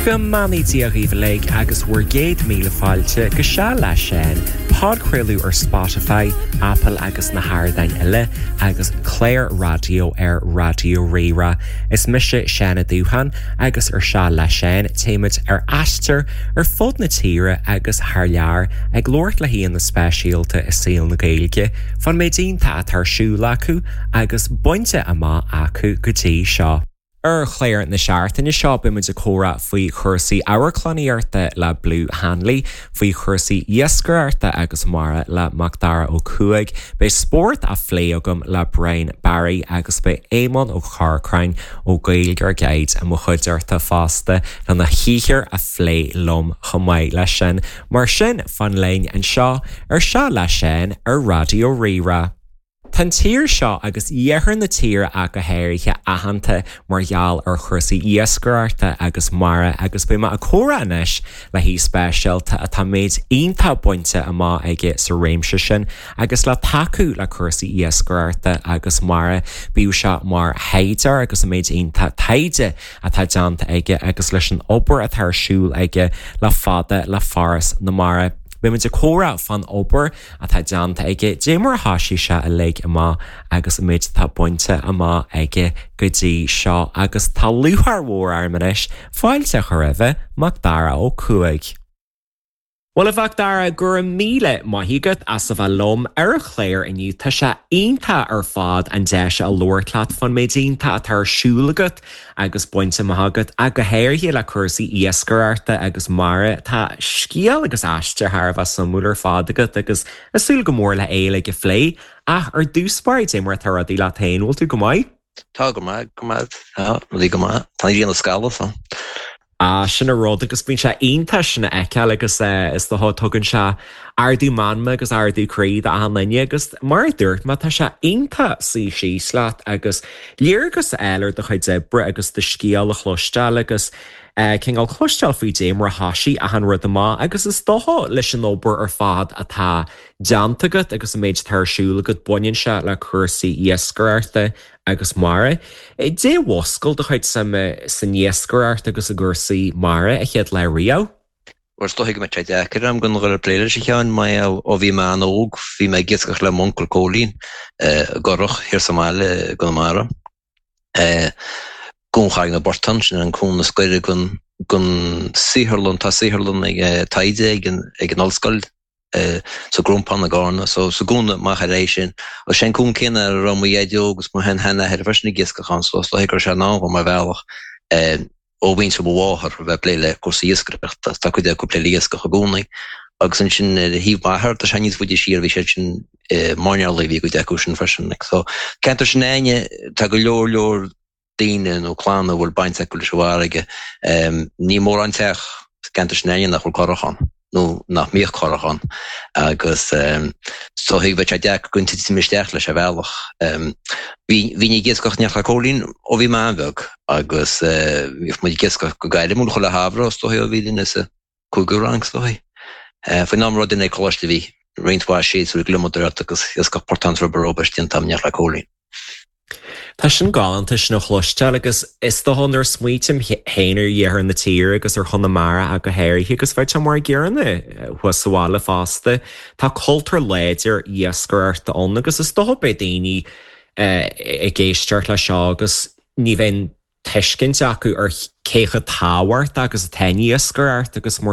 Go mbeannaí Dia dhaoibh uilig agus bhur gcéad míle fáilte go Seal le Seán, podchraoladh ar Spotify, Apple agus na hardáin eile, agus clár raidió ar Raidió Rí-Rá. Is mise Seán Ó Dúcháin agus ar Seal le Seán téimid ar aistear ar fud na tíre agus thar lear ag labhairt le haíonna speisialta i saol na Gaeilge fán méid iontach atá ar siúl acu agus bainte amach acu go dtí seo. Ar chlár na seachtaine seo beidh muid ag comhrá faoi chúrsaí amharclannaíochta le Blue Hanley, faoi chúrsaí iascaireachta agus mara le Macdara Ó Cuaig, beidh spórt á phlé agam le Brian Barry agus beidh Éamonn Ó Corcráin ó Gaeilgeoir Guide i mo chuideachta fosta lena shaothar a phlé liom chomh maith leis sin. Mar sin, fan linn anseo ar Seal le Seán ar Raidió Rí-Rá. Tá an tír seo, agus iarthar na tíre ach go háirithe, aitheanta mar gheall ar chúrsaí iascaireachta agus mara agus beidh mé ag comhrá anois le haoi speisialta atá méid iontach bainte amach aige sa réimse sin agus le tacú le cúrsaí iascaireachta agus mara, bíodh sé mar thaighdeoir agus an méid iontach taighde atá déanta aige agus leis an obair atá ar siúl aige le fada le Foras na Mara. Beidh muid ag comhrá fán obair atá déanta aige, dé mar a thoisigh sé uilig amach agus an méid atá bainte amach aige go dtí seo agus tá lúcháir mhór orm anois fáilte a chur roimhe, Macdara Ó Cuaig. Bhuel a Mhacdara, go raibh míle maith agat as a bheith liom ar an chlár inniu. Tá sé iontach ar fad an deis a labhairt leat fán méid iontach atá ar siúl agat agus bainte amach agat, ach go háirithe le cúrsaí iascaireachta agus mara. Tá scéal agus aistear thar a bheith suimiúil ar fad agat agus ag súil go mór le é uilig a phlé. Ach ar dtús báire, dé mar atá rudaí leat féin, bhfuil tú go maith? Tá go maith, go maith, tá rudaí go maith. Tá an ghrian ag scalladh, so. Ah, sin an rud agus bíonn sé iontach sin a fheiceáil agus is dócha tugann sé ardú meanma agus ardú croí d'achan duine agus mar a dúirt mé tá sé iontach suí síos leat agus léargas a fháil ar do chuid oibre agus do scéal a chloisteáil agus cineál cloisteáil faoi dé mar a thoisigh achan rud amach agus is dócha leis an obair ar fad atá déanta agat agus an méid atá ar siúl agat baineann sé le cúrsaí iascaireachta agus mara. Dé mhúscail do chuid suime san iascaireacht agus i gcúrsaí mara a chéad lá riamh? Bhuel, is dóigh go mbeidh sé deacair agam gan dhul ag plé leis a Sheáin, mar gheall ó bhí mé an-óg bhí mé ag iascach le m'uncail Cóilín i gcurrach thiar sa mbaile i gConamara. Cuan Charraig na bPortán, sin an cuan is gaire don saotharlann, tá saotharlann ag taighde ag an ollscoil sa gCrompán i gCarna, so sa gcuan amach ar aghaidh sin. Agus sé an cuan céanna a raibh mo dhaideo agus mo shean-sheanathair freisin ag iascach ann, so is dóigh go raibh sé in ann dhom ar bhealach ó mhuintir mo mháthar a bheith ag plé le cúrsaí iascaireachta, tá cuid acu ag plé le iascach i gcónaí. Agus ansin ar thaobh m'athar, tá sé níos faide siar, bhí siad sin i mairnéalaigh, bhí cuid acu sin freisin. So ceantar sin againne, tá go leor leor daoine nó clanna a bhfuil baint acu leis an bhfarraige. Níl mórán teach sa gceantar sin againne nach bhfuil currach ann, nó nach mbíodh currach ann, agus is dóigh bheadh sé deacair gan titim isteach leis ar bhealach. Bhínn ag iascach in éineacht le Cóilín ó bhí mé an-bheag, agus bhíodh muid ag iascach go gairmiúil chuile shamhradh is dóigh ó bhí duine sa cúigiú rang is dóigh. Faoin am a raibh duine ag coláiste bhí roinnt mhaith séasúir gliomaigh ort agus iascach portán is ruba robaist déanta agam in éineacht le Cóilín. Tá sin galánta sin a chloisteáil agus is dócha nuair a smaoitím féin ar iarthar na tíre agus ar Chonamara ach go háirithe agus bheadh sé mar an gcéanna thuas sa bhaile fosta, tá cultúr láidir iascaireachta ann agus is dócha beidh daoine ag éisteacht leis seo agus ní bheidh tuiscint acu ar cé chomh tábhachtach agus atá an iascaireacht agus mar.